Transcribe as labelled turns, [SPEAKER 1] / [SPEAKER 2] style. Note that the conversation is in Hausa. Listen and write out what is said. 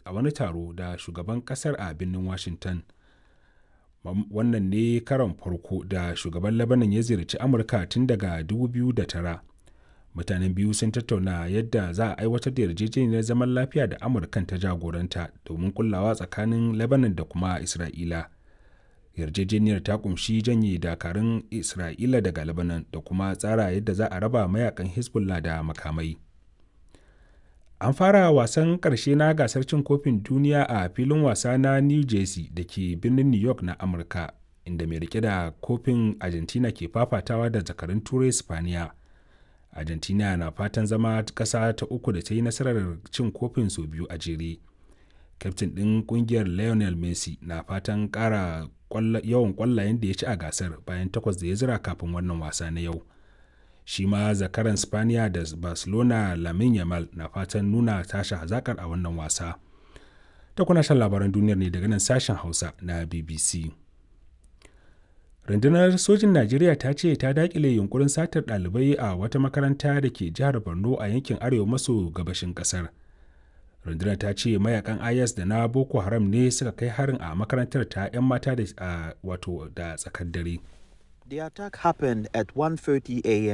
[SPEAKER 1] a wani taro da shugaban kasar a birnin Washington. Wannan ne karon farko da shugaban Lebanon ya ziyarci Amurka tun daga 2009. Mutanen biyu sun tattauna yadda za a aiwatar da yarjejeniyar zaman lafiya da Amurkan ta jagoranta domin kullawa tsakanin Lebanon da kuma Isra'ila. Yarjejeniyar ta kumshi janye dakarun Isra'ila daga Lebanon da kuma tsara yadda za a raba mayakan Hezbollah da makamai. An fara wasan ƙarshe na gasar cin kofin duniya a filin wasa na New Jersey da ke birnin New York na Amurka, inda mai rike da kofin Argentina ke fafatawa da zakarun Turai Spaniya. Argentina na fatan zama ƙasa ta uku da ta yi nasarar cin kofin sau biyu a jere. Kyaftin ɗin ƙungiyar Lionel Messi na fatan ƙara yawan ƙwallayen da ya ci a gasar bayan takwas da ya zira kafin wannan wasa na yau. Shi ma zakaran Spaniya da Barcelona Lamine Yamal na fatan nuna tashi hazakar a wannan wasa. Ta kuna shan labaran duniyar ne daga nan sashen Hausa na BBC. Rundunar sojin Najeriya ta ce ta dakile yunkurin satar ɗalibai a wata makaranta da ke jihar Borno a yankin arewa maso gabashin ƙasar. Rundunar ta ce mayakan IS da na Boko Haram ne suka kai harin a makarantar ta 'yan mata da wato da tsakar dare.
[SPEAKER 2] The attack happened at 1:30 a.m.